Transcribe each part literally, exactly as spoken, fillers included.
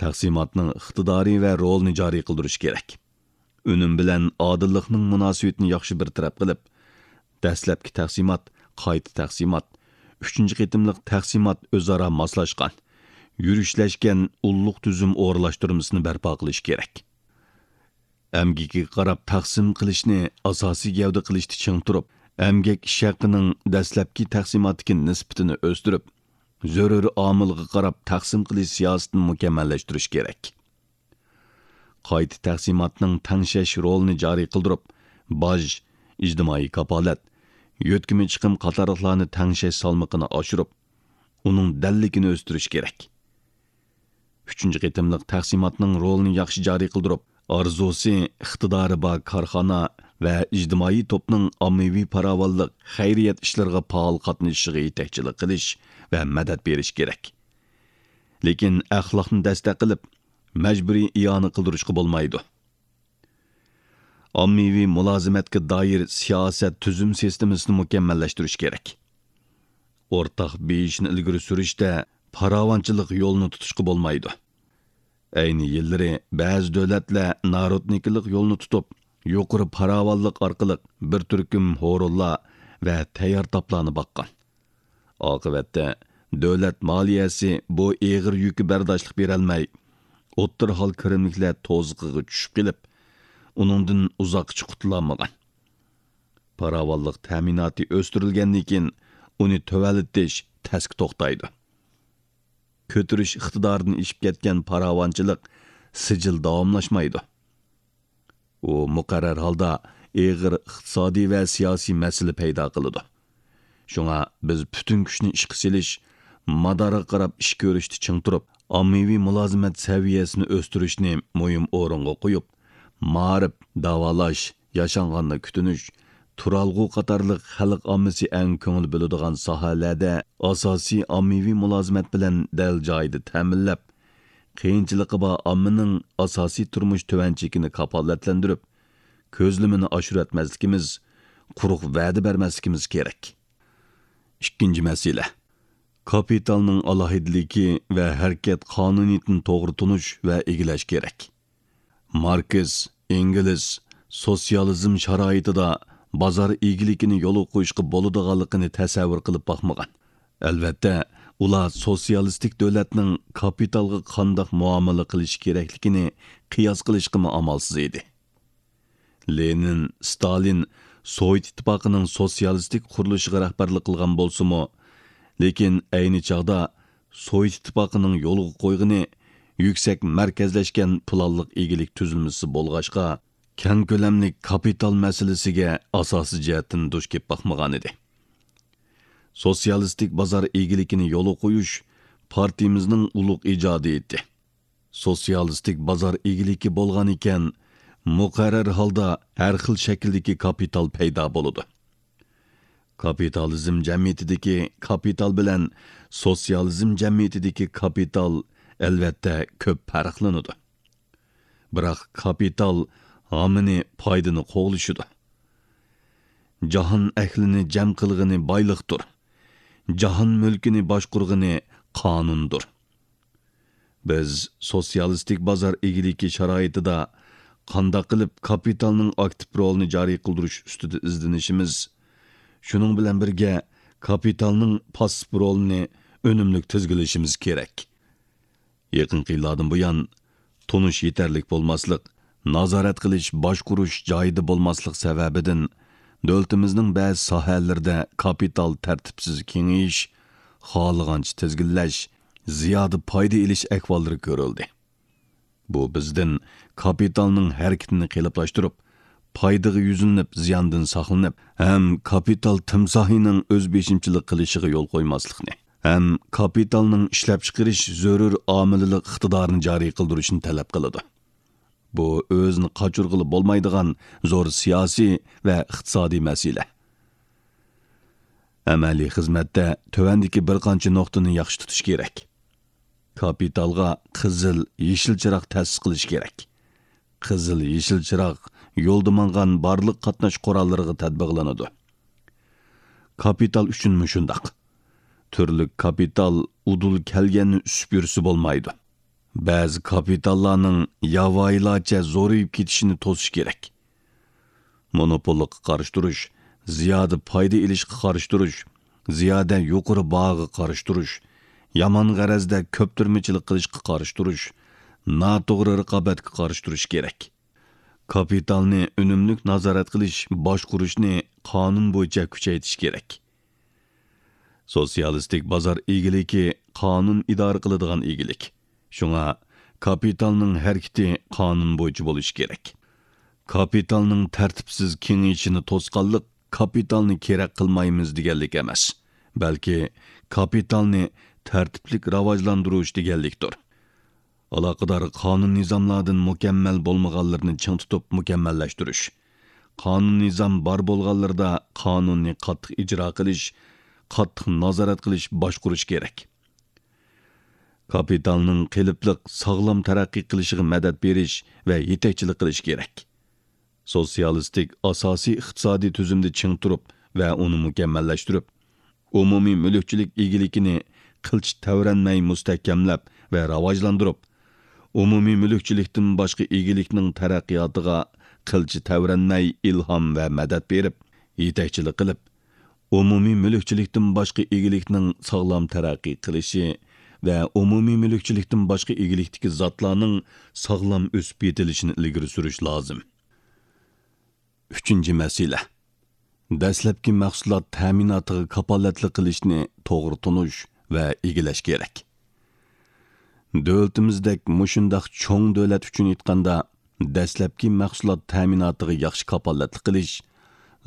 تەقسىماتنىڭ ئىقتىدارى ۋە رولىنى جارى قىلدۇرۇش كېرەك. ئۈنۈم بىلەن ئادىللىقنىڭ مۇناسىۋىتىنى ياخشى بىر تەرەپ قىلىپ، دەسلەپكى تەقسىمات، قايتا تەقسىمات، ئۈچىنچى قېتىملىق تەقسىمات ئۆزئارا ماسلاشقان، يۈرۈشلەشكەن ئۇللۇق تۈزۈم ئورۇنلاشتۇرمىسىنى بەرپا قىلىش كېرەك. ئەمگىكىگە قاراپ تەقسىم قىلىشنى ئاساسىي گەۋدە قىلىشتا چىڭ تۇرۇپ، ئەمگەك ئىش ھەققىنىڭ دەسلەپكى تەقسىماتتىكى نىسبىتىنى ئۆستۈرۈپ، زۆرۈر ئامىلغا قاراپ تەقسىم قىلىش سىياسىتىنى مۇكەممەللەشتۈرۈش كېرەك. قايتا تەقسىماتنىڭ تەڭشەش رولىنى جارى قىلدۇرۇپ، باج، ئىجتىمائىي كاپالەت، يۆتكىمە چىقىم قاتارلىقلارنى تەڭشەش سالمىقىنى ئاشۇرۇپ، ئۇنىڭ دەللىكىنى ئۆستۈرۈش كېرەك. ئۈچىنچى قېتىملىق تەقسىماتنىڭ رولىنى ياخشى جارى قىلدۇرۇپ، ئارزۇسى، ئىقتىدارى بار كارخانا ۋە ئىجتىمائىي توپنىڭ ئاممىۋى پاراۋانلىق، خەيرىيەت ئىشلىرىغا پائال قاتنىشىشىغا يېتەكچىلىك قىلىش ۋە مەدەت بېرىش كېرەك. لېكىن ئەخلاقنى دەستەك قىلىپ، مەجبۇرىي ئىئانە قىلدۇرۇشقا بولمايدۇ. ئاممىۋى مۇلازىمەتكە دائىر سىياسەت تۈزۈم سىستېمىسىنى مۇكەممەللەشتۈرۈش كېرەك. ئورتاق بېيىشنى ئىلگىرى سۈرۈشتە پاراۋانچىلىق يولىنى تۇتۇشقا بولمايدۇ. ئەينى يىللىرى بەزى دۆلەتلەر نارودنىكىلىق يولىنى تۇتۇپ، يۇقىرى پاراۋانلىق ئارقىلىق بىر تۈركۈم ھورۇنلار ۋە تەييار تاپلارنى باققان. ئاقىۋەتتە، دۆلەت مالىيەسى بۇ ئېغىر يۈككە بەرداشلىق بېرەلمەي، ئوتتۇرا ھال كىرىملىكلەر توزۇقىغا چۈشۈپ قېلىپ، ئۇنىڭدىن ئۇزاققىچە قۇتۇلالمىغان. پاراۋانلىق تەمىناتى ئۆستۈرۈلگەندىن كېيىن، ئۇنى تۆۋەنلىتىش تەسكە توختايدۇ. كۆتۈرۈش ئىقتىدارىدىن ئېشىپ كەتكەن پاراۋانچىلىق سىجىل داۋاملاشمايدۇ. ئۇ مۇقەررەر ھالدا ئېغىر ئىقتىسادىي ۋە سىياسىي مەسىلە پەيدا قىلىدۇ. شۇڭا بىز پۈتۈن كۈچنى ئىشقا سېلىش، مادارغا قاراپ ئىش كۆرۈشتە چىڭ تۇرۇپ، ئاممىۋى مۇلازىمەت سەۋىيەسىنى ئۆستۈرۈشنى مۇھىم ئورۇنغا قويۇپ، مائارىپ، داۋالاش، ياشانغاندا كۈتۈنۈش، تۇرالغۇ قاتارلىق خەلق ئاممىسى ئەڭ كۆڭۈل بۆلىدىغان ساھەلەردە ئاساسىي ئاممىۋى مۇلازىمەت بىلەن دەل جايىدا تەمىنلەپ، قىيىنچىلىقى بار ئاممىنىڭ ئاساسىي تۇرمۇش تۆۋەن چېكىنى كاپالەتلەندۈرۈپ، كۆزلىمىنى ئاشۇرۇۋەتمەسلىكىمىز، قۇرۇق ۋەدە بەرمەسلىكىمىز كېرەك. ئىككىنچى مەسىلە، كاپىتالنىڭ ئالاھىدىلىكى ۋە ھەرىكەت قانۇنىيىتىنى توغرا تونۇش ۋە ئىگىلەش كېرەك. ماركس، ئېنگېلس سوتسىيالىزم شارائىتىدا بازار ئىگىلىكىنى يولغا قويۇشقا بولىدىغانلىقىنى تەسەۋۋۇر قىلىپ باقمىغان. ئەلۋەتتە، ئۇلار سوتسىيالىستىك دۆلەتنىڭ كاپىتالغا قانداق مۇئامىلە قىلىشى كېرەكلىكىنى قىياس قىلىشقىمۇ ئامالسىز ئىدى. لېنىن، ستالىن سوۋېت ئىتتىپاقىنىڭ سوتسىيالىستىك قۇرۇلۇشىغا رەھبەرلىك قىلغان بولسىمۇ، لېكىن ئەينى چاغدا سوۋېت ئىتتىپاقىنىڭ يولغا قويغىنى يۈكسەك مەركەزلەشكەن پىلانلىق ئىگىلىك تۈزۈلمىسى بولغاچقا، كەڭ كۆلەملىك كاپىتال مەسىلىسىگە ئاساسىي جەھەتتىن دۇچ كېلىپ باقمىغانىدى. سوتسىيالىستىك بازار ئىگىلىكىنى يولغا قويۇش پارتىيىمىزنىڭ ئۇلۇغ ئىجادىيىتى. سوتسىيالىستىك بازار ئىگىلىكى بولغان ئىكەن، مۇقەررەر ھالدا ھەر خىل شەكىلدىكى كاپىتال پەيدا بولىدۇ. كاپىتالىزم جەمئىيىتىدىكى كاپىتال بىلەن سوتسىيالىزم جەمئىيىتىدىكى كاپىتال، ئەلۋەتتە، كۆپ پەرقلىنىدۇ. بىراق كاپىتال ھامىنى، پايدىنى قوغلىشىدۇ. جاھان ئەھلىنى جەم قىلغىنى بايلىقتۇر. جاھان مۈلكىنى باشقۇرغىنى قانۇندۇر. بىز سوتسىيالىستىك بازار ئىگىلىكى شارائىتىدا قانداق قىلىپ كاپىتالنىڭ ئاكتىپ رولىنى جارى قىلدۇرۇش ئۈستىدە ئىزدىنىشىمىز، شۇنىڭ بىلەن بىرگە، كاپىتالنىڭ پاسسىپ رولىنى ئۈنۈملۈك تىزگىنلىشىمىز كېرەك. يېقىنقى يىللاردىن بۇيان، تونۇش يېتەرلىك بولماسلىق، نازارەت قىلىش، باشقۇرۇش جايىدا بولماسلىق سەۋەبىدىن، دۆلىتىمىزنىڭ بەزى ساھەلىرىدە كاپىتال تەرتىپسىز كېڭىيىش، خالىغانچە تىزگىنلەش، زىيادە پايدا ئېلىش ئەھۋاللىرى كۆرۈلدى. بۇ بىزدىن كاپىتالنىڭ ھەرىكىتىنى قېلىپلاشتۇرۇپ، پايدىغا يۈزلىنىپ، زىياندىن ساقلىنىپ، ھەم كاپىتال تىمساھىنىڭ ئۆز بېشىمچىلىق قىلىشىغا يول قويماسلىقنى، ھەم كاپىتالنىڭ ئىشلەپچىقىرىش زۆرۈر ئامىللىق ئىقتىدارىنى جارى قىلدۇرۇشنى تەلەپ قىلىدۇ. بۇ ئۆزىنى قاچۇرغىلى بولمايدىغان زور سىياسىي ۋە ئىقتىسادىي مەسىلە. ئەمەلىي خىزمەتتە تۆۋەندىكى بىر قانچە نۇقتىنى ياخشى تۇتۇش كېرەك. كاپىتالغا قىزىل، يېشىل چىراغ تەسىس قىلىش كېرەك. قىزىل، يېشىل چىراغ يولدا ماڭغان بارلىق قاتناش قوراللىرىغا تەتبىقلىنىدۇ. كاپىتال ئۈچۈنمۇ شۇنداق. تۈرلۈك كاپىتال ئۇدۇل كەلگەننى ئۈسۈپ يۈرسە بولمايدۇ. بەزى كاپىتاللارنىڭ ياۋايىلارچە زورىيىپ كېتىشىنى توسۇش كېرەك. مونوپوللۇققا قارشى تۇرۇش، زىيادە پايدا ئېلىشقا قارشى تۇرۇش، زىيادە يۇقىرى باھاغا قارشى تۇرۇش، يامان غەرەزدە كۆپتۈرمىچىلىك قىلىشقا قارشى تۇرۇش، ناتوغرا رىقابەتكە قارشى تۇرۇش كېرەك. كاپىتالنى ئۈنۈملۈك نازارەت قىلىش، باشقۇرۇشنى قانۇن بويىچە كۈچەيتىش كېرەك. سوتسىيالىستىك بازار ئىگىلىكى قانۇن ئىدارە قىلىدىغان ئىگىلىك. شۇڭا كاپىتالنىڭ ھەرىكىتى قانۇن بويىچە بولۇشى كېرەك. كاپىتالنىڭ تەرتىپسىز كېڭىيىشىنى توسقانلىق كاپىتالنى كېرەك قىلمايمىز دېگەنلىك ئەمەس، بەلكى كاپىتالنى تەرتىپلىك راۋاجلاندۇرۇش دېگەنلىكتۇر. ئالاقىدار قانۇن نىزاملاردىن مۇكەممەل بولمىغانلىرىنى چىڭ تۇتۇپ مۇكەممەللەشتۈرۈش. قانۇن نىزام بار بولغانلىرىدا قانۇننى قاتتىق ئىجرا قىلىش، قاتتىق نازارەت قىلىش، باشقۇرۇش كېرەك. كاپىتالنىڭ قېلىپلىق، ساغلام تەرەققىي قىلىشىغا مەدەت بېرىش ۋە يېتەكچىلىك قىلىش كېرەك. سوتسىيالىستىك ئاساسىي ئىقتىسادىي تۈزۈمدە چىڭ تۇرۇپ ۋە ئۇنى مۇكەممەللەشتۈرۈپ، ئومۇمىي مۈلۈكچىلىك ئىگىلىكىنى قىلچە تەۋرەنمەي مۇستەھكەملەپ ۋە راۋاجلاندۇرۇپ، ئومۇمىي مۈلۈكچىلىكتىن باشقا ئىگىلىكنىڭ تەرەققىياتىغا قىلچە تەۋرەنمەي ئىلھام ۋە مەدەت بېرىپ، يېتەكچىلىك قىلىپ، ئومۇمىي مۈلۈكچىلىكتىن باشقا ئىگىلىكنىڭ ساغلام تەرەققىي قىلىشى ۋە ئومۇمىي مۈلۈكچىلىكتىن باشقا ئىگىلىكتىكى زاتلارنىڭ ساغلام ئۆسۈپ يېتىلىشىنى ئىلگىرى سۈرۈش لازىم. ئۈچىنچى مەسىلە، دەسلەپكى مەھسۇلات تەمىناتىغا كاپالەتلىك قىلىشنى توغرا تونۇش ۋە ئىگىلەش كېرەك. دۆلىتىمىزدەك مۇشۇنداق چوڭ دۆلەت ئۈچۈن ئېيتقاندا، دەسلەپكى مەھسۇلات تەمىناتىغا ياخشى كاپالەتلىك قىلىش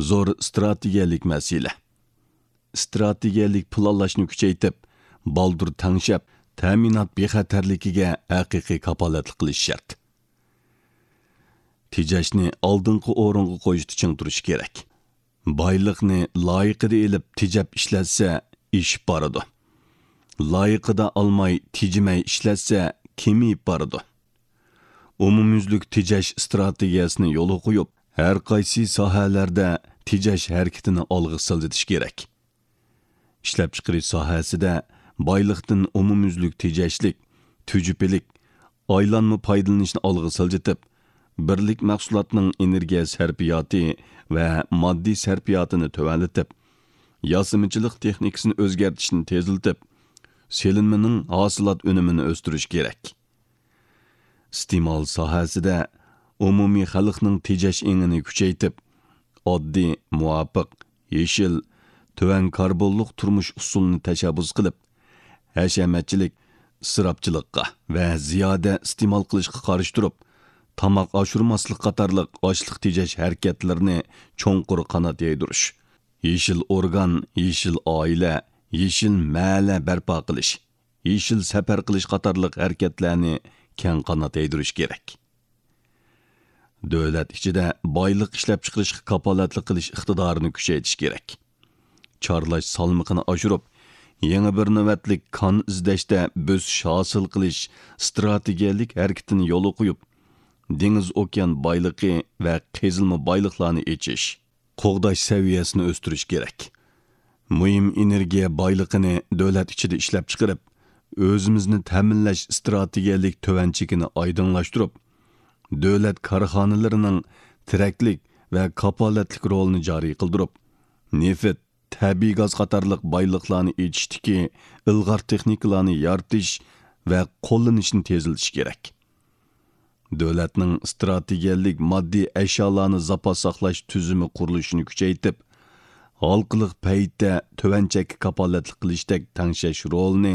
زور ئىستراتېگىيەلىك مەسىلە. ئىستراتېگىيەلىك پىلانلاشنى كۈچەيتىپ، بالدۇر تەڭشەپ، تەمىنات بىخەتەرلىكىگە ھەقىقىي كاپالەتلىك قىلىش شەرت. تېجەشنى ئالدىنقى ئورۇنغا قويۇشتا چىڭ تۇرۇش كېرەك. بايلىقنى لايىقىدا ئېلىپ تېجەپ ئىشلەتسە، ئېشىپ بارىدۇ. لايىقىدا ئالماي، تېجىمەي ئىشلەتسە، كېمىيىپ بارىدۇ. ئومۇميۈزلۈك تېجەش ئىستراتېگىيەسىنى يولغا قويۇپ، ھەر قايسى ساھەلەردە تېجەش ھەرىكىتىنى ئالغا سىلجىتىش كېرەك. ئىشلەپچىقىرىش ساھەسىدە بايلىقتىن ئومۇميۈزلۈك تېجەشلىك، تۈجۈپىلىك، ئايلانما پايدىلىنىشنى ئالغا سىلجىتىپ، بىرلىك مەھسۇلاتنىڭ ئېنېرگىيە سەرپىياتى ۋە ماددىي سەرپىياتىنى تۆۋەنلىتىپ، ياسىمىچىلىق تېخنىكىسىنى ئۆزگەرتىشنى تېزلىتىپ، سېلىنمىنىڭ ھاسىلات ئۈنۈمىنى ئۆستۈرۈش كېرەك. ئىستېمال ساھەسىدە ئومۇمىي خەلقنىڭ تېجەش ئېڭىنى كۈچەيتىپ، ئاددىي، مۇۋاپىق، يېشىل، تۆۋەن كاربونلۇق تۇرمۇش ئۇسۇلىنى تەشەببۇس قىلىپ، ھەشەمەتچىلىك، ئىسراپچىلىققا ۋە زىيادە ئىستېمال قىلىشقا قارشى تۇرۇپ، تاماق ئاشۇرماسلىق قاتارلىق ئاشلىق تېجەش ھەرىكەتلىرىنى چوڭقۇر قانات يايدۇرۇش، يېشىل ئورگان، يېشىل ئائىلە، يېشىل مەھەللە بەرپا قىلىش، يېشىل سەپەر قىلىش قاتارلىق ھەرىكەتلەرنى كەڭ قانات يايدۇرۇش كېرەك. دۆلەت ئىچىدە بايلىق ئىشلەپچىقىرىشقا كاپالەتلىك قىلىش ئىقتىدارىنى كۈچەيتىش كېرەك. چارلاش سالمىقىنى ئاشۇرۇپ، يېڭى بىر نۆۋەتلىك كان ئىزدەشتە بۆسۈش ھاسىل قىلىش ئىستراتېگىيەلىك ھەرىكىتىنى يولغا قويۇپ، دېڭىز ئوكيان بايلىقى ۋە قېزىلما بايلىقلارنى ئېچىش، قوغداش سەۋىيەسىنى ئۆستۈرۈش كېرەك. مۇھىم ئېنېرگىيە بايلىقىنى دۆلەت ئىچىدە ئىشلەپچىقىرىپ، ئۆزىمىزنى تەمىنلەش ئىستراتېگىيەلىك تۆۋەن چېكىنى ئايدىڭلاشتۇرۇپ، دۆلەت كارخانىلىرىنىڭ تىرەكلىك ۋە كاپالەتلىك رولىنى جارى قىلدۇرۇپ، نېفىت، تەبىئىي گاز قاتارلىق بايلىقلارنى ئېچىشتىكى ئىلغار تېخنىكىلارنى يارىتىش ۋە قوللىنىشنى تېزلىتىش كېرەك. دۆلەتنىڭ ئىستراتېگىيەلىك ماددىي ئەشيالارنى زاپاس ساقلاش تۈزۈمى قۇرۇلۇشىنى كۈچەيتىپ، ھالقىلىق پەيتتە تۆۋەن چەككە كاپالەتلىك قىلىشتەك تەڭشەش رولىنى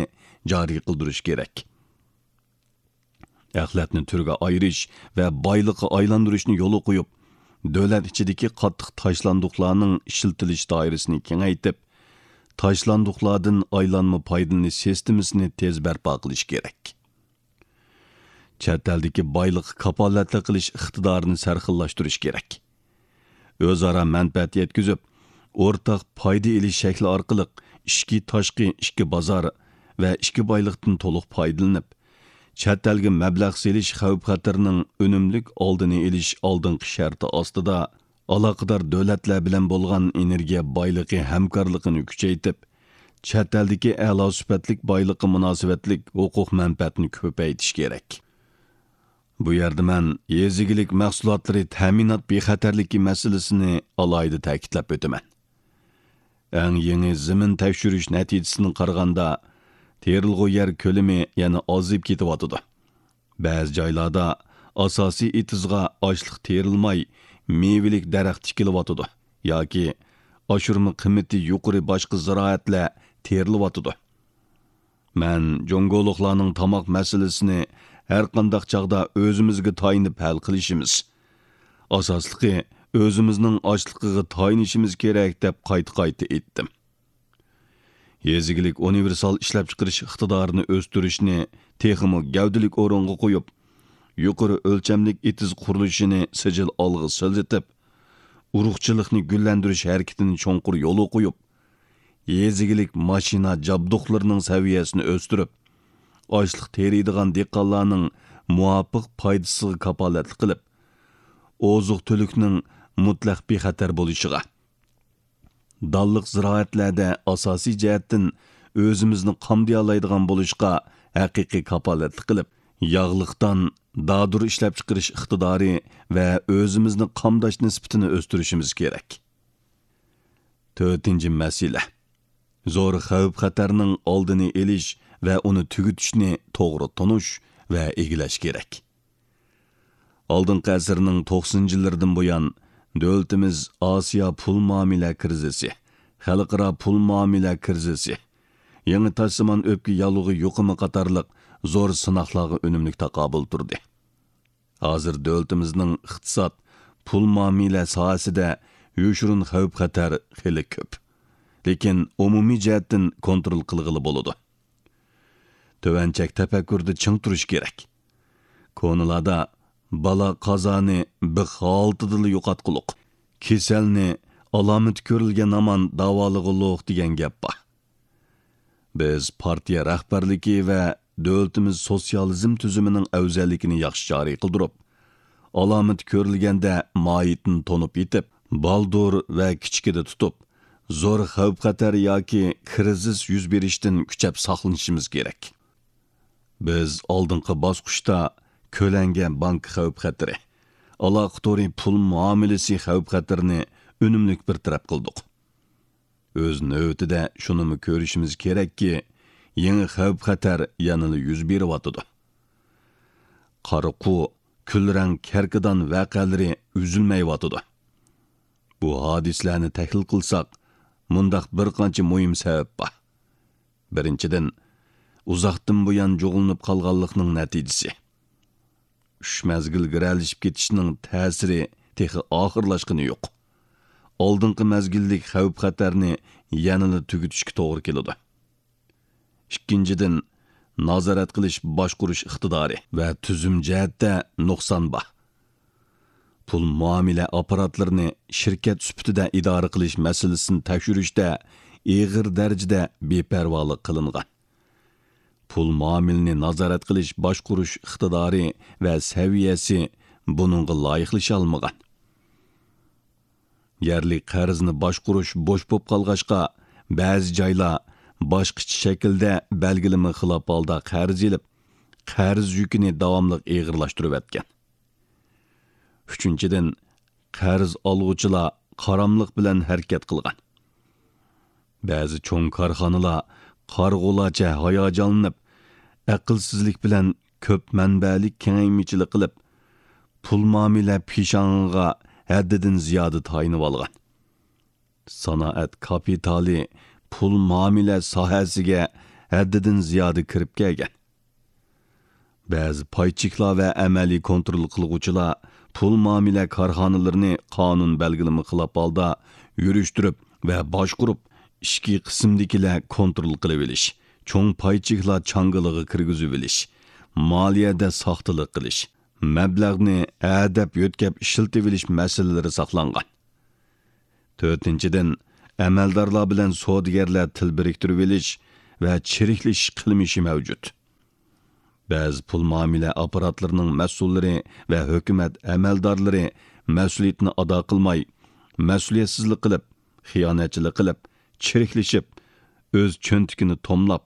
جارى قىلدۇرۇش كېرەك. ئەخلەتنى تۈرگە ئايرىش ۋە بايلىققا ئايلاندۇرۇشنى يولغا قويۇپ، دۆلەت ئىچىدىكى قاتتىق تاشلاندۇقلارنىڭ ئىشلىتىلىش دائىرىسىنى كېڭەيتىپ، تاشلاندۇقلاردىن ئايلانما پايدىلىنىش سىستېمىسىنى تېز بەرپا قىلىش كېرەك. چەت ئەلدىكى بايلىققا كاپالەتلىك قىلىش ئىقتىدارىنى سەرخىللاشتۇرۇش كېرەك. ئۆزئارا مەنپەئەت يەتكۈزۈپ، ئورتاق پايدا ئېلىش شەكلى ئارقىلىق ئىچكى، تاشقى ئىككى بازار ۋە ئىككى بايلىقتىن تولۇق پايدىلىنىپ، چەت ئەلگە مەبلەغ سېلىش خەۋپ-خەتىرىنىڭ ئۈنۈملۈك ئالدىنى ئېلىش ئالدىنقى شەرتى ئاستىدا، ئالاقىدار دۆلەتلەر بىلەن بولغان ئېنېرگىيە بايلىقى ھەمكارلىقىنى كۈچەيتىپ، چەت ئەلدىكى ئەلا سۈپەتلىك بايلىققا مۇناسىۋەتلىك ھوقۇق مەنپەئەتنى كۆپەيتىش كېرەك. بۇ يەردە مەن يېزا ئىگىلىك مەھسۇلاتلىرى تەمىنات بىخەتەرلىكى مەسىلىسىنى ئالاھىدە تەكىتلەپ ئۆتىمەن. ئەڭ يېڭى زېمىن تەكشۈرۈش نەتىجىسىدىن قارىغاندا، تېرىلغۇ يەر كۆلىمى يەنە ئازىيىپ كېتىۋاتىدۇ. بەزى جايلاردا ئاساسىي ئېتىزغا ئاشلىق تېرىلماي، مېۋىلىك دەرەخ تىكىلىۋاتىدۇ ياكى ئاشۇرما قىممىتى يۇقىرى باشقا زىرائەتلەر تېرىلىۋاتىدۇ. مەن جۇڭگولۇقلارنىڭ تاماق مەسىلىسىنى ھەرقانداق چاغدا ئۆزىمىزگە تايىنىپ ھەل قىلىشىمىز، ئاساسلىقى ئۆزىمىزنىڭ ئاشلىقىغا تايىنىشىمىز كېرەك، دەپ قايتا-قايتا ئېيتتىم. يېزا ئىگىلىك ئۇنىۋېرسال ئىشلەپچىقىرىش ئىقتىدارىنى ئۆستۈرۈشنى تېخىمۇ گەۋدىلىك ئورۇنغا قويۇپ، يۇقىرى ئۆلچەملىك ئېتىز قۇرۇلۇشىنى سىجىل ئالغا سىلجىتىپ، ئۇرۇقچىلىقنى گۈللەندۈرۈش ھەرىكىتىنى چوڭقۇر يولغا قويۇپ، يېزا ئىگىلىك ماشىنا جابدۇقلىرىنىڭ سەۋىيەسىنى ئۆستۈرۈپ، ئاشلىق تېرىيدىغان دېھقانلارنىڭ مۇۋاپىق پايدىسىغا كاپالەتلىك قىلىپ، ئوزۇق-تۈلۈكنىڭ مۇتلەق بىخەتەر بولۇشىغا، دانلىق زىرائەتلەردە ئاساسىي جەھەتتىن ئۆزىمىزنى قامدىيالايدىغان بولۇشقا ھەقىقىي كاپالەتلىك قىلىپ، ياغلىق دان، دادۇر ئىشلەپچىقىرىش ئىقتىدارى ۋە ئۆزىمىزنى قامداش نىسبىتىنى ئۆستۈرۈشىمىز كېرەك. تۆتىنچى مەسىلە، زور خەۋپ-خەتەرنىڭ ئالدىنى ئېلىش ۋە ئۇنى تۈگىتىشنى توغرا تونۇش ۋە ئىگىلەش كېرەك. ئالدىنقى ئەسىرنىڭ توقسىنىنچى يىللىرىدىن بۇيان، دۆلىتىمىز ئاسىيا پۇل مۇئامىلە كىرىزىسى، خەلقئارا پۇل مۇئامىلە كىرىزىسى، يېڭى تاشسىمان ئۆپكە ياللۇغى يۇقۇمى قاتارلىق زور سىناقلارغا ئۈنۈملۈك تاقابىل تۇردى. ھازىر دۆلىتىمىزنىڭ ئىقتىساد، پۇل مۇئامىلە ساھەسىدە يوشۇرۇن خەۋپ-خەتەر خېلى كۆپ. لېكىن ئومۇمىي جەھەتتىن كونترول قىلغىلى بولىدۇ. تۆۋەن چەك تەپەككۇردا چىڭ تۇرۇش كېرەك. كونىلاردا «بالا قازانى بىخ ھالىتىدىلا يوقاتقۇلۇق، كېسەلنى ئالامىتى كۆرۈلگەن ھامان داۋالىغۇلۇق» دېگەن گەپ بار. بىز پارتىيە رەھبەرلىكى ۋە دۆلىتىمىز سوتسىيالىزم تۈزۈمىنىڭ ئەۋزەللىكىنى ياخشى جارى قىلدۇرۇپ، ئالامىتى كۆرۈلگەندە ماھىيىتىنى تونۇپ يېتىپ، بالدۇر ۋە كىچىكىدە تۇتۇپ، زور خەۋپ-خەتەر ياكى كىرىزىس يۈز بېرىشتىن كۈچەپ ساقلىنىشىمىز كېرەك. بىز ئالدىنقى باسقۇچتا كۆلەڭگە بانكا خەۋپ-خەتىرى، ئالاقە تورى پۇل مۇئامىلىسى خەۋپ-خەتىرىنى ئۈنۈملۈك بىر تەرەپ قىلدۇق. ئۆز نۆۋىتىدە شۇنىمۇ كۆرۈشىمىز كېرەككى، يېڭى خەۋپ-خەتەر يەنىلا يۈز بېرىۋاتىدۇ. قارا قۇ، كۈلرەڭ كەركىدان ۋەقەلىرى ئۈزۈلمەيۋاتىدۇ. بۇ ھادىسىلەرنى تەھلىل قىلساق، مۇنداق بىر قانچە مۇھىم سەۋەب بار. بىرىنچىدىن، ئۇزاقتىن بۇيان جۇغلىنىپ قالغانلىقنىڭ نەتىجىسى. ئۈچ مەزگىل گىرەلىشىپ كېتىشنىڭ تەسىرى تېخى ئاخىرلاشقىنى يوق. ئالدىنقى مەزگىللىك خەۋپ-خەتەرنى يەنىلا تۈگىتىشكە توغرا كېلىدۇ. ئىككىنچىدىن، نازارەت قىلىش باشقۇرۇش ئىقتىدارى ۋە تۈزۈم جەھەتتە نۇقسان بار. پۇل مۇئامىلە ئاپپاراتلىرىنى شىركەت سۈپىتىدە ئىدارە قىلىش مەسىلىسىنى تەكشۈرۈشتە ئېغىر دەرىجىدە بىپەرۋالىق قىلىنغان. پۇل مۇئامىلىنى نازارەت قىلىش باشقۇرۇش ئىقتىدارى ۋە سەۋىيەسى بۇنىڭغا لايىقلىشالمىغان. يەرلىك قەرزنى باشقۇرۇش بوش بولۇپ قالغاچقا، بەزى جايلار باشقىچە شەكىلدە بەلگىلىمە خىلاپ ھالدا قەرز ئېلىپ، قەرز يۈكىنى داۋاملىق ئېغىرلاشتۇرۇۋەتكەن. ئۈچىنچىدىن، قەرز ئالغۇچىلار قاراملىق بىلەن ھەرىكەت قىلغان. بەزى چوڭ كارخانىلار قارىغۇلارچە ھاياجانلىنىپ، ئەقىلسىزلىك بىلەن كۆپ مەنبەلىك كېڭەيمىچىلىك قىلىپ، پۇل مۇئامىلە پىشاڭىغا ھەددىدىن زىيادە تايىنىۋالغان. سانائەت كاپىتالى پۇل مۇئامىلە ساھەسىگە ھەددىدىن زىيادە كىرىپ كەلگەن. بەزى پاي چېكلار ۋە ئەمەلىي كونترول قىلغۇچىلار پۇل مۇئامىلە كارخانىلىرىنى قانۇن بەلگىلىمە خىلاپ ھالدا يۈرۈشتۈرۈپ ۋە باشقۇرۇپ، ئىچكى قىسىمدىكىلەر كونترول قىلىۋېلىش، چوڭ پاي چېكلار چاڭگىلىغا كىرگۈزۈۋېلىش، مالىيەدە ساختىلىق قىلىش، مەبلەغنى ھەدەپ يۆتكەپ ئىشلىتىۋېلىش مەسىلىلىرى ساقلانغان. تۆتىنچىدىن، ئەمەلدارلار بىلەن سودىگەرلەر تىل بىرىكتۈرۈۋېلىش ۋە چىرىكلىشىش قىلمىشى مەۋجۇت. بەزى پۇل مۇئامىلە ئاپپاراتلىرىنىڭ مەسئۇللىرى ۋە ھۆكۈمەت ئەمەلدارلىرى مەسئۇلىيىتىنى ئادا قىلماي، مەسئۇلىيەتسىزلىك قىلىپ، خىيانەتچىلىك قىلىپ، چىرىكلىشىپ، ئۆز چۆنتىكىنى توملاپ،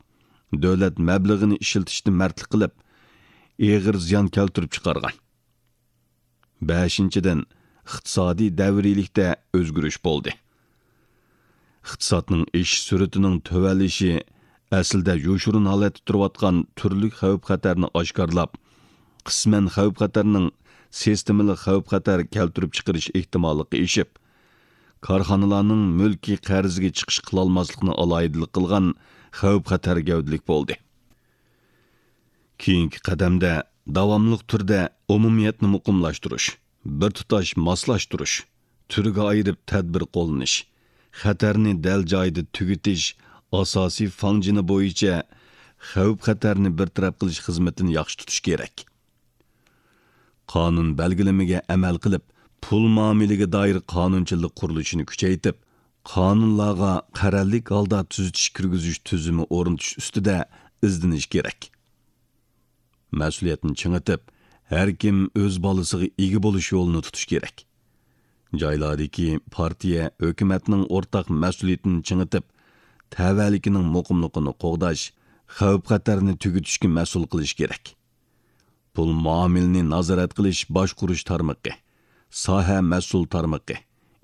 دۆلەت مەبلىغىنى ئىشلىتىشتە مەردلىك قىلىپ، ئېغىر زىيان كەلتۈرۈپ چىقارغان. بەشىنچىدىن، ئىقتىسادىي دەۋرىيلىكتە ئۆزگىرىش بولدى. ئىقتىسادنىڭ ئېشىش سۈرئىتىنىڭ تۆۋەنلىشى ئەسلىدە يوشۇرۇن ھالەتتە تۇرۇۋاتقان تۈرلۈك خەۋپ-خەتەرنى ئاشكارىلاپ، قىسمەن خەۋپ-خەتەرنىڭ سىستېمىلىق خەۋپ-خەتەر كەلتۈرۈپ چىقىرىش ئېھتىماللىقى ئېشىپ، كارخانىلارنىڭ مۈلكىي قەرزگە چىقىش قىلالماسلىقىنى ئالاھىدىلىك قىلغان خەۋپ-خەتەر گەۋدىلىك بولدى. كېيىنكى قەدەمدە داۋاملىق تۈردە ئومۇمىيەتنى مۇقىملاشتۇرۇش، بىر تۇتاش ماسلاشتۇرۇش، تۈرگە ئايرىپ تەدبىر قوللىنىش، خەتەرنى دەل جايىدا تۈگىتىش ئاساسىي فاڭجېنى بويىچە خەۋپ-خەتەرنى بىر تەرەپ قىلىش خىزمىتىنى ياخشى تۇتۇش كېرەك. قانۇن بەلگىلىمىگە ئەمەل قىلىپ، پۇل مۇئامىلىگە دائىر قانۇنچىلىق قۇرۇلۇشىنى كۈچەيتىپ، قانۇنلارغا قەرەللىك ھالدا تۈزىتىش كىرگۈزۈش تۈزۈمى ئورنىتىش ئۈستىدە ئىزدىنىش كېرەك. مەسئۇلىيەتنى چىڭىتىپ، ھەر كىم ئۆز بالىسىغا ئىگە بولۇش يولىنى تۇتۇش كېرەك. جايلاردىكى پارتىيە، ھۆكۈمەتنىڭ ئورتاق مەسئۇلىيىتىنى چىڭىتىپ، تەۋەلىكىنىڭ مۇقىملىقىنى قوغداش، خەۋپ-خەتەرنى تۈگىتىشكە مەسئۇل قىلىش كېرەك. پۇل مۇئامىلىنى نازارەت قىلىش باشقۇرۇش تارمىقى، ساھە مەسئۇل تارمىقى،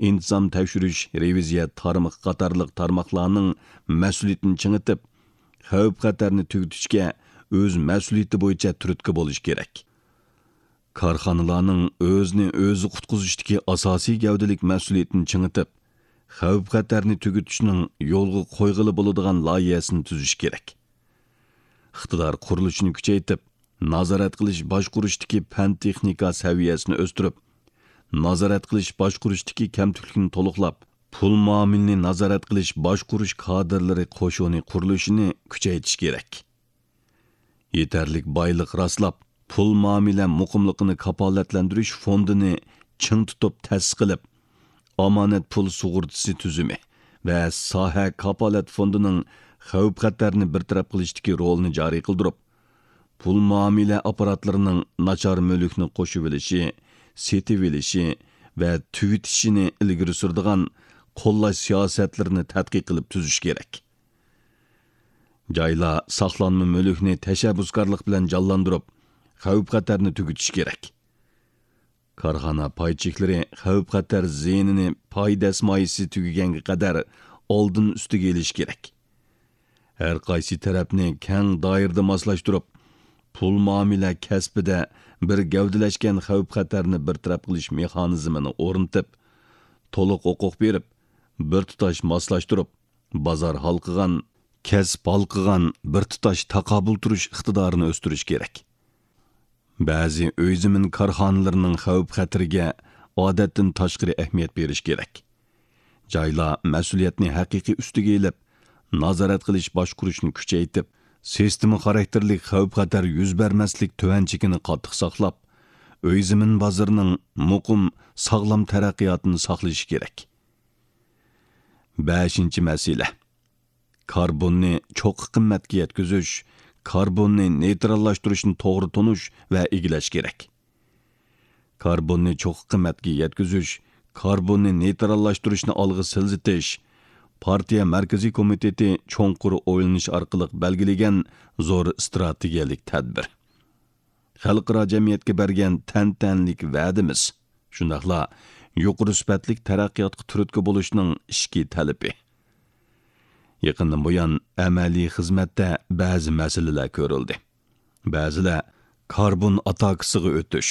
ئىنتىزام تەكشۈرۈش رېۋىزىيە تارمىقى قاتارلىق تارماقلارنىڭ مەسئۇلىيىتىنى چىڭىتىپ، خەۋپ-خەتەرنى تۈگىتىشكە ئۆز مەسئۇلىيىتى بويىچە تۈرتكە بولۇش كېرەك. كارخانىلارنىڭ ئۆزىنى ئۆزى قۇتقۇزۇشتىكى ئاساسىي گەۋدىلىك مەسئۇلىيىتىنى چىڭىتىپ، خەۋپ-خەتەرنى تۈگىتىشنىڭ يولغا قويغىلى بولىدىغان لايىھەسىنى تۈزۈش كېرەك. ئىقتىدار قۇرۇلۇشىنى كۈچەيتىپ، نازارەت قىلىش باشقۇرۇشتىكى پەن-تېخنىكا سەۋىيەسىنى ئۆستۈرۈپ، نازارەت قىلىش باشقۇرۇشتىكى كەمتۈكلۈكنى تولۇقلاپ، پۇل مۇئامىلىنى نازارەت قىلىش باشقۇرۇش كادىرلىرى قوشۇنى قۇرۇلۇشىنى كۈچەيتىش كېرەك. يېتەرلىك بايلىق راسلاپ، پۇل مۇئامىلە مۇقىملىقىنى كاپالەتلەندۈرۈش فوندىنى چىڭ تۇتۇپ تەسىس قىلىپ، ئامانەت پۇل سۇغۇرتىسى تۈزۈمى ۋە ساھە كاپالەت فوندىنىڭ خەۋپ-خەتەرنى بىر تەرەپ قىلىشتىكى رولىنى جارى قىلدۇرۇپ، پۇل مۇئامىلە ئاپپاراتلىرىنىڭ ناچار مۈلۈكنى قوشۇۋېلىشى، سېتىۋېلىشى ۋە تۈگىتىشىنى ئىلگىرى سۈرىدىغان قوللاش سىياسەتلىرىنى تەتقىق قىلىپ تۈزۈش كېرەك. جايلار ساقلانما مۈلۈكنى تەشەببۇسكارلىق بىلەن جانلاندۇرۇپ، خەۋپ-خەتەرنى تۈگىتىشى كېرەك. كارخانا پاي چېكلىرى خەۋپ-خەتەر زىيىنىنى پاي دەسمايىسى تۈگىگەنگە قەدەر ئالدىن ئۈستىگە ئېلىشى كېرەك. ھەر قايسى تەرەپنى كەڭ دائىرىدە ماسلاشتۇرۇپ، پۇل مۇئامىلە كەسپىدە بىر گەۋدىلەشكەن خەۋپ-خەتەرنى بىر تەرەپ قىلىش مېخانىزمىنى ئورنىتىپ، تولۇق ھوقۇق بېرىپ، بىر تۇتاش ماسلاشتۇرۇپ، بازار ھالقىغان، كەسىپ ھالقىغان بىر تۇتاش تاقابىل تۇرۇش ئىقتىدارىنى ئۆستۈرۈش كېرەك. بەزى ئۆي زېمىن كارخانىلىرىنىڭ خەۋپ-خەتىرىگە ئادەتتىن تاشقىرى ئەھمىيەت بېرىش كېرەك. جايلار مەسئۇلىيەتنى ھەقىقىي ئۈستىگە ئېلىپ، نازارەت قىلىش باشقۇرۇشنى كۈچەيتىپ، سىستېما خاراكتېرلىك خەۋپ-خەتەر يۈز بەرمەسلىك تۆۋەن چېكىنى قاتتىق ساقلاپ، ئۆي زېمىن بازىرىنىڭ مۇقىم، ساغلام تەرەققىياتىنى ساقلىشى كېرەك. بەشىنچى مەسىلە. كاربوننى چوققا قىممەتكە يەتكۈزۈش، كاربوننى نېيتراللاشتۇرۇشنى توغرا تونۇش ۋە ئىگىلەش كېرەك. كاربوننى چوققا قىممەتكە يەتكۈزۈش، كاربوننى نېيتراللاشتۇرۇشنى ئالغا سىلجىتىش پارتىيە مەركىزىي كومىتېتى چوڭقۇر ئويلىنىش ئارقىلىق بەلگىلىگەن زور ئىستراتېگىيەلىك تەدبىر. خەلقئارا جەمئىيەتكە بەرگەن تەنتەنىلىك ۋەدىمىز، شۇنداقلا يۇقىرى سۈپەتلىك تەرەققىياتقا تۈرتكە بولۇشنىڭ ئىچكى تەلىپى. يېقىندىن بۇيان ئەمەلىي خىزمەتتە بەزى مەسىلىلەر كۆرۈلدى. بەزىلەر كاربون ئاتاكىسىغا ئۆتۈش،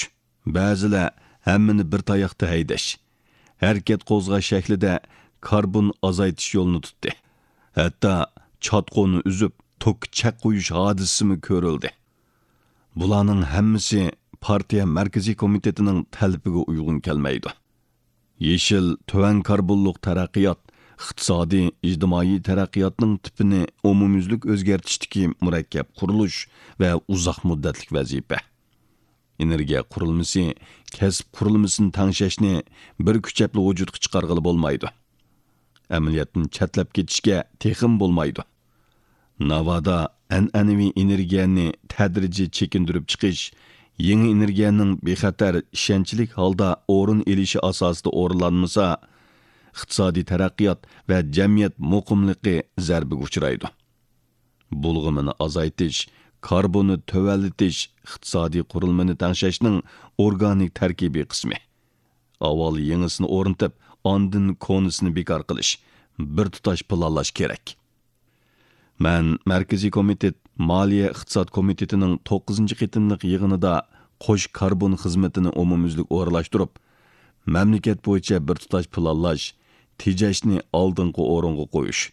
بەزىلەر ھەممىنى بىر تاياقتا ھەيدەش، ھەرىكەت قوزغاش شەكلىدە كاربون ئازايتىش يولىنى تۇتتى. ھەتتا چاتقۇنى ئۈزۈپ، توكقا چەك قويۇش ھادىسىسىمۇ كۆرۈلدى. بۇلارنىڭ ھەممىسى پارتىيە مەركىزىي كومىتېتىنىڭ تەلىپىگە ئۇيغۇن كەلمەيدۇ. يېشىل، تۆۋەن كاربونلۇق تەرەققىيات ئىقتىسادىي، ئىجتىمائىي تەرەققىياتنىڭ تىپىنى ئومۇميۈزلۈك ئۆزگەرتىشتىكى مۇرەككەپ قۇرۇلۇش ۋە ئۇزاق مۇددەتلىك ۋەزىپە. ئېنېرگىيە قۇرۇلمىسى، كەسىپ قۇرۇلمىسىنى تەڭشەشنى بىر كۈچەپلا ۋۇجۇدقا چىقارغىلى بولمايدۇ. ئەمەلىيەتتىن چەتلەپ كېتىشكە تېخىمۇ بولمايدۇ. ناۋادا ئەنئەنىۋى ئېنېرگىيەنى تەدرىجىي چېكىندۈرۈپ چىقىش، يېڭى ئېنېرگىيەنىڭ بىخەتەر، ئىشەنچلىك ھالدا ئورۇن ئېلىشى ئاساسىدا ئورۇنلانمىسا، ئىقتىسادىي تەرەققىيات ۋە جەمئىيەت مۇقىملىقى زەربىگە ئۇچرايدۇ. بۇلغىمىنى ئازايتىش، كاربوننى تۆۋەنلىتىش ئىقتىسادىي قۇرۇلمىنى تەڭشەشنىڭ ئورگانىك تەركىبىي قىسمى. ئاۋۋال يېڭىسىنى ئورنىتىپ، ئاندىن كونىسىنى بىكار قىلىش، بىر تۇتاش پىلانلاش كېرەك. مەن مەركىزىي كومىتېت مالىيە ئىقتىساد كومىتېتىنىڭ توققۇزىنچى قېتىملىق يىغىنىدا قوش كاربون خىزمىتىنى ئومۇميۈزلۈك ئورۇنلاشتۇرۇپ، مەملىكەت بويىچە بىر تۇتاش پىلانلاش، تېجەشنى ئالدىنقى ئورۇنغا قويۇش،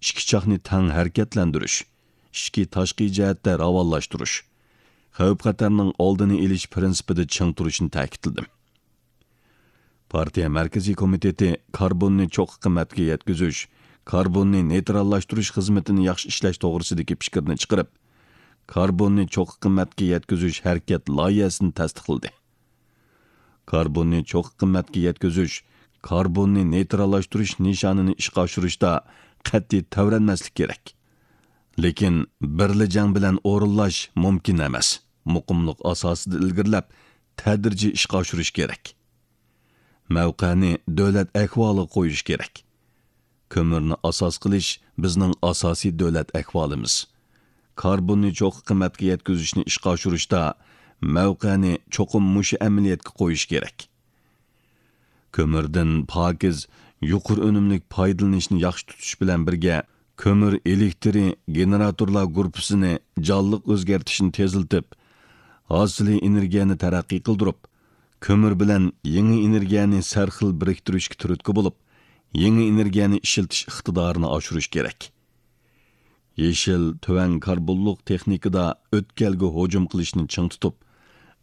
ئىككى چاقنى تەڭ ھەرىكەتلەندۈرۈش، ئىچكى تاشقى جەھەتتە راۋانلاشتۇرۇش، خەۋپ-خەتەرنىڭ ئالدىنى ئېلىش پىرىنسىپىدا چىڭ تۇرۇشنى تەكىتلىدىم. پارتىيە مەركىزىي كومىتېتى كاربوننى چوققا قىممەتكە يەتكۈزۈش، كاربوننى نېيتراللاشتۇرۇش خىزمىتىنى ياخشى ئىشلەش توغرىسىدىكى پىكىرنى چىقىرىپ، كاربوننى چوققا قىممەتكە يەتكۈزۈش ھەرىكەت لايىھەسىنى تەستىقلىدى. كاربوننى چوققا قىممەتكە يەتكۈزۈش، كاربوننى نېيتراللاشتۇرۇش نىشانىنى ئىشقا ئاشۇرۇشتا قەتئىي تەۋرەنمەسلىك كېرەك. لېكىن بىرلا جەڭ بىلەن ئورۇنلاش مۇمكىن ئەمەس. مۇقىملىق ئاساسىدا ئىلگىرىلەپ، تەدرىجىي ئىشقا ئاشۇرۇش كېرەك. مەۋقەنى دۆلەت ئەھۋالىغا قويۇش كېرەك. كۆمۈرنى ئاساس قىلىش بىزنىڭ ئاساسىي دۆلەت ئەھۋالىمىز. كاربوننى چوققا قىممەتكە يەتكۈزۈشنى ئىشقا ئاشۇرۇشتا مەۋقەنى چوقۇم مۇشۇ ئەمەلىيەتكە قويۇش كېرەك. كۆمۈردىن پاكىز، يۇقىرى ئۈنۈملۈك پايدىلىنىشنى ياخشى تۇتۇش بىلەن بىرگە، كۆمۈر ئېلېكترى گېنېراتورلار گۇرۇپپىسىنى جانلىق ئۆزگەرتىشنى تېزلىتىپ، ھاسىلىي ئېنېرگىيەنى تەرەققىي قىلدۇرۇپ، كۆمۈر بىلەن يېڭى ئېنېرگىيەنى سەرخىل بىرىكتۈرۈشكە تۈرتكە بولۇپ، يېڭى ئېنېرگىيەنى ئىشلىتىش ئىقتىدارىنى ئاشۇرۇش كېرەك. يېشىل، تۆۋەن كاربونلۇق تېخنىكىدا ئۆتكەلگە ھۇجۇم قىلىشنى چىڭ تۇتۇپ،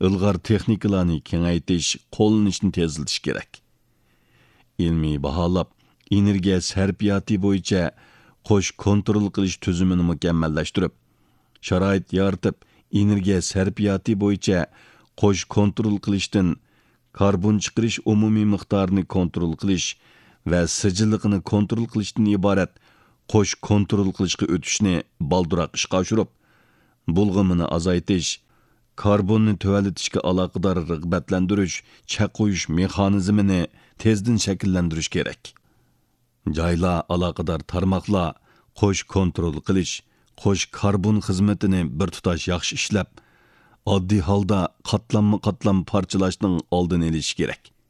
ئىلغار تېخنىكىلارنى كېڭەيتىش، قوللىنىشنى تېزلىتىش كېرەك. ئىلمىي باھالاپ، ئېنېرگىيە سەرپىياتى بويىچە قوش كونترول قىلىش تۈزۈمىنى مۇكەممەللەشتۈرۈپ، شارائىت يارىتىپ، ئېنېرگىيە سەرپىياتى بويىچە قوش كونترول قىلىشتىن كاربون چىقىرىش ئومۇمىي مىقدارىنى كونترول قىلىش ۋە سىجىللىقىنى كونترول قىلىشتىن ئىبارەت قوش كونترول قىلىشقا ئۆتۈشنى بالدۇرراق ئىشقا ئاشۇرۇپ، بۇلغىمىنى ئازايتىش، كاربوننى تۆۋەنلىتىشكە ئالاقىدار رىغبەتلەندۈرۈش، چەك قويۇش مېخانىزمىنى تېزدىن شەكىللەندۈرۈش كېرەك. جايلار، ئالاقىدار تارماقلار قوش كونترول قىلىش، قوش كاربون خىزمىتىنى بىر تۇتاش ياخشى ئىشلەپ، ئاددىي ھالدا قاتلاممۇ قاتلام پارچىلاشنىڭ ئالدىنى ئېلىشى كېرەك.